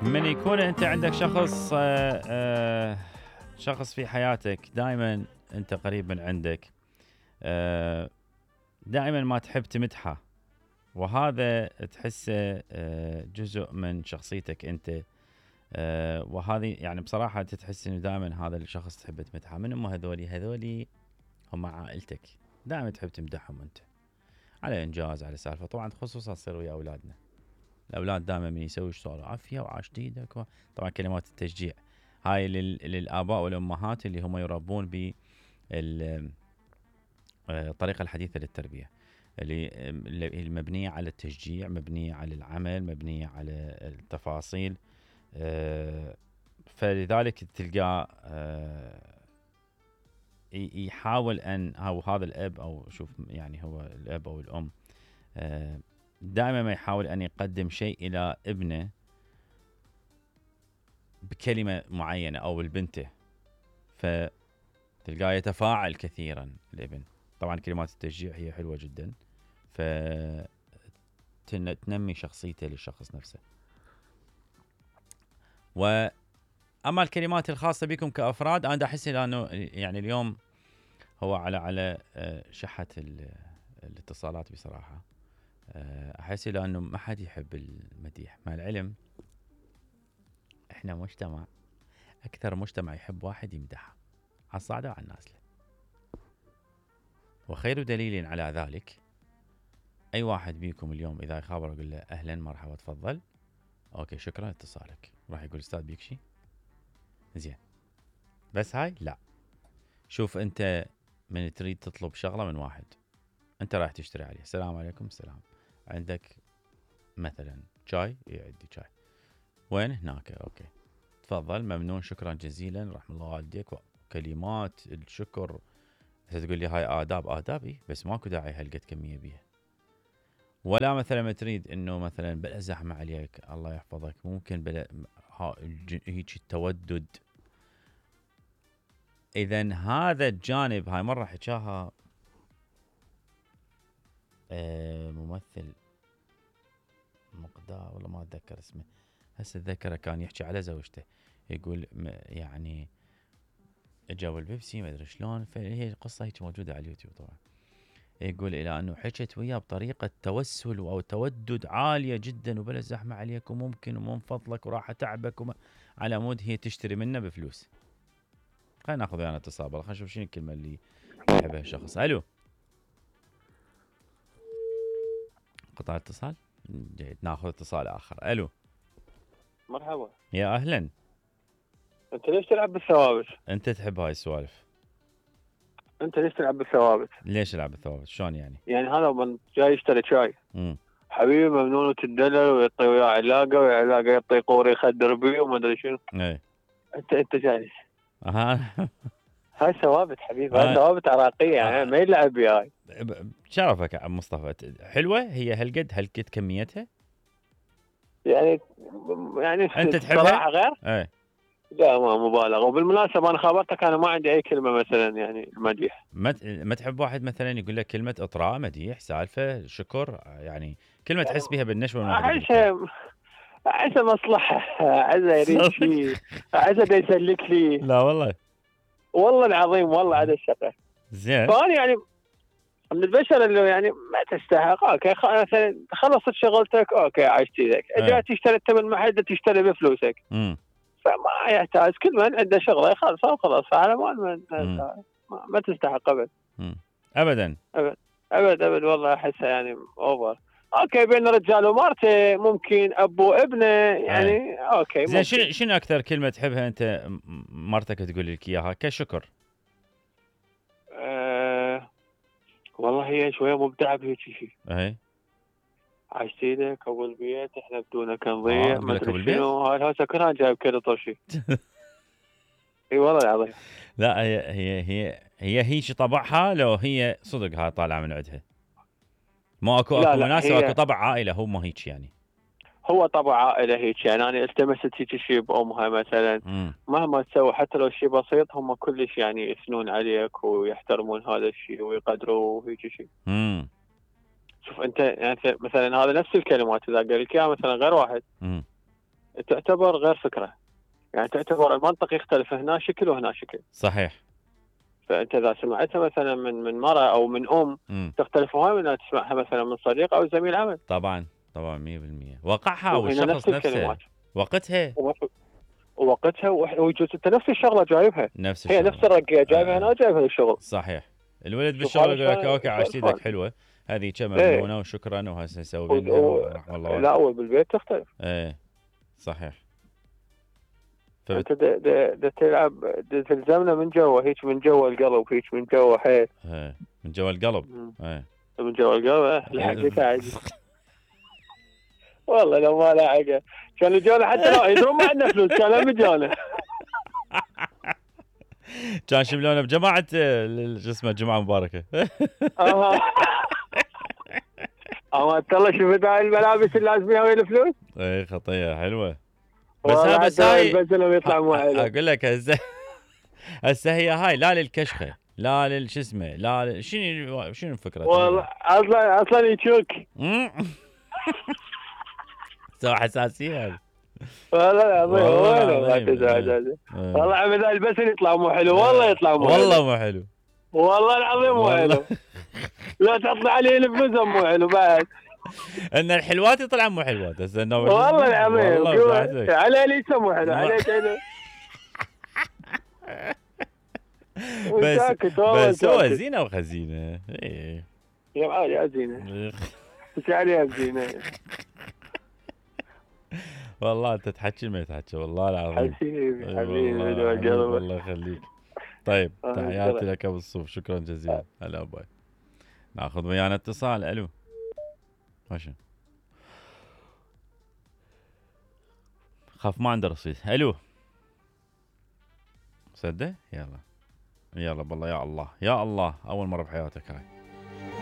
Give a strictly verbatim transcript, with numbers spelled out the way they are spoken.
من يكون انت عندك شخص آه آه شخص في حياتك دائما انت قريب من عندك، آه دائما ما تحب تمدحه، وهذا تحسه آه جزء من شخصيتك انت، آه وهذه يعني بصراحة تحس انه دائما هذا الشخص تحب تمدحه. من هم هذولي؟ هذولي هم عائلتك، دائما تحب تمدحهم انت على انجاز، على سالفة. طبعا خصوصا تصير ويا اولادنا، الاولاد دائما من يسوي شغل عافيه وعاش ايدك و... طبعا كلمات التشجيع هاي لل... للاباء والامهات اللي هم يربون ب الطريقه الحديثه للتربيه، اللي المبنيه على التشجيع، مبنيه على العمل، مبنيه على التفاصيل. فلذلك تلقاه يحاول ان او هذا الاب او شوف يعني هو الاب او الام دائما ما يحاول أن يقدم شيء إلى ابنه بكلمة معينة أو لبنته، فتلقاه يتفاعل كثيرا الابن. طبعا كلمات التشجيع هي حلوة جدا، فتنمي شخصيته للشخص نفسه. وأما الكلمات الخاصة بكم كأفراد، أنا أحس أنه يعني اليوم هو على على شحة الاتصالات بصراحة. احس لانه ما حد يحب المديح، مع العلم احنا مجتمع اكثر مجتمع يحب واحد يمدحه على الصعده وعلى النازله، وخير دليل على ذلك اي واحد بيكم اليوم اذا يخابر يقول له اهلا مرحبا تفضل اوكي شكرا اتصالك، راح يقول استاذ بيك شي زين. بس هاي لا، شوف انت من تريد تطلب شغله من واحد انت رايح تشتري عليه، السلام عليكم، السلام، عندك مثلا شاي؟ يعدي شاي، وين؟ هناك، اوكي تفضل ممنون شكرا جزيلا رحم الله والديك، وكلمات الشكر. تقول لي هاي آداب، آدابي بس ماكو داعي هالقد كمية بيها. ولا مثلا ما تريد انه مثلا بلا زحمة عليك الله يحفظك، ممكن بلا هيك التودد. اذا هذا الجانب، هاي مرة حكاها آه ممثل مقدار والله ما اتذكر اسمه هسه اتذكره، كان يحكي على زوجته يقول يعني اجاوا البيبسي ما ادري شلون، فهي القصه هيك موجوده على اليوتيوب طبعا. يقول الى انه حكت وياه بطريقه توسل او تودد عاليه جدا وبلا زحمه عليك وممكن ومن فضلك وراح اتعبك وما، على مود هي تشتري منه بفلوس. خلينا ناخذ ويانا اتصال، خلينا نشوف شنو الكلمه اللي يحبها الشخص. الو، قطع اتصال، جيد ناخذ اتصال اخر. الو مرحبا، يا اهلا. انت ليش تلعب بالثوابت؟ انت تحب هاي السوالف؟ انت ليش تلعب بالثوابت؟ ليش العب بالثوابت؟ شلون يعني؟ يعني هذا من جاي يشتري شاي، امم حبيبي ممنون وتدلل ويعطي وياه علاقه وعلاقه يعطي قوري يخدر بيه وما ادري شنو. ايه انت انت جالس اها هاي ثوابت حبيبي، هاي ثوابت عراقيه يعني ما يلعب بيها هاي. شرفك يا عم مصطفى. حلوه هي هالقد هالقد كميتها يعني يعني انت تحبها؟ صراحه غير ايه لا ما مبالغه. وبالمناسبه انا خابرتك انا ما عندي اي كلمه مثلا يعني مديح. ما ما تحب واحد مثلا يقول لك كلمه اطراء، مديح، سالفه، شكر، يعني كلمه يعني تحس بها بالنشوه والمغرب؟ احس احس مصلحه، احس يريد شيء، احس يسلك لي. لا والله والله العظيم والله هذا الشغله زين. فانا يعني من البشر اللي يعني ما تستحق. اوكي مثلا خلصت شغلتك اوكي عشت ايدك، اذا تشتري انت من محل تشتري بفلوسك امم فما يحتاج، كل من عنده شغله يخلص وخلاص، على مال من ما, ما تستحق ابد. مم. ابدا ابد ابد ابد والله احسها يعني اوفر. اوكي بين رجال ومرته، ممكن ابو ابنه يعني أي. اوكي زين. شنو شنو اكثر كلمه تحبها انت مرتك تقول لك اياها كشكر؟ أه والله هي شويه مبدعه بهيك شيء. اي عشت ايدك ابو البيت، احنا بدونك نضيع، آه ما ادري شنو، هاي هسه كلها جايب كذا طرشي. اي والله العظيم. لا هي هي هي هي هيك طبعها، لو هي صدق هاي طالعه من عندها، ما اكو اكو مناسبه، اكو طبع عائله، هو ما هيك يعني. هو طبع عائله هيك يعني. انا التمست هيك شيء بامها مثلا، مم. مهما تسوي حتى لو شيء بسيط هم كلش يعني يثنون عليك ويحترمون هذا الشيء ويقدروه هيك شيء. امم شوف انت يعني مثلا هذا نفس الكلمات اذا قال لك اياها مثلا غير واحد، امم تعتبر غير فكره، يعني تعتبر المنطق يختلف، هنا شكل وهنا شكل. صحيح. فانت اذا سمعتها مثلا من من مره او من ام م. تختلف هواي من تسمعها مثلا من صديق او زميل عمل. طبعا طبعا مية بالمية وقعها وهنا والشخص نفس نفسه الكلمات وقتها ووقتها ويجوز انت نفس الشغله جايبها، نفس هي الشغله نفس الرقيه جايبها آه. هنا جايبها الشغل. صحيح. الولد شوف بالشغل هذا يقول لك شلون- اوكي شلون عاشت ايدك الفرق. حلوه هذه كم إيه. ممنونه وشكرا وهسه نسوي و- منها و- ورحم الله لا والديك. اول بالبيت تختلف. ايه صحيح. فبت... انت دا دا دا تلعب دا تلزمنا من جوا، هيك من جوا القلب، هيك من جوا حيل. ايه من جوا القلب. مم. ايه من جوا القلب لحقك عادي. والله لو ما لحقه كان جونا حتى لو يدرون ما عندنا فلوس كان هم جونا. كان شملونا بجماعه ال- شو اسمه الجمعه المباركه. اه اما الله شفت هاي الملابس اللي لازم وين الفلوس. ايه خطيه حلوه. بس والله ها بس حتى هاي البزلة ويطلع مو حلو. اقول لك هسه هسه هي هاي لا للكشخه لا للش اسمه لا لل... شنو شنو الفكره؟ والله اصلا اصلا يشوك. سوى حساسيه هذا. والله العظيم والله وينه ما العظيم. تزعج هذا. إيه. والله عمد البسل يطلع مو حلو، والله يطلع مو حلو. والله مو حلو. والله العظيم مو والله. حلو. لا تحط عليه الفلوس مو حلو بعد. ان الحلوات يطلع مو حلوات هسه انه والله العظيم والله بحثك. على لي مو حلو ما- عليك حلو. بس وساكت والله بس هو ساكت. زينه وخزينه. ايه يا معالي يا زينه ايش عليها زينه. والله انت تحكي ما تحكي والله العظيم. حبيبي أي حبيبي والله دوا حبيبي، قلبك. الله يخليك. طيب آه، تحياتي شكرا. لك ابو الصوف شكرا جزيلا. هلا باي. ناخذ ويانا اتصال. الو ماشي خاف ما عنده رصيد. الو صدق يلا يلا بالله يا الله يا الله اول مره بحياتك هاي.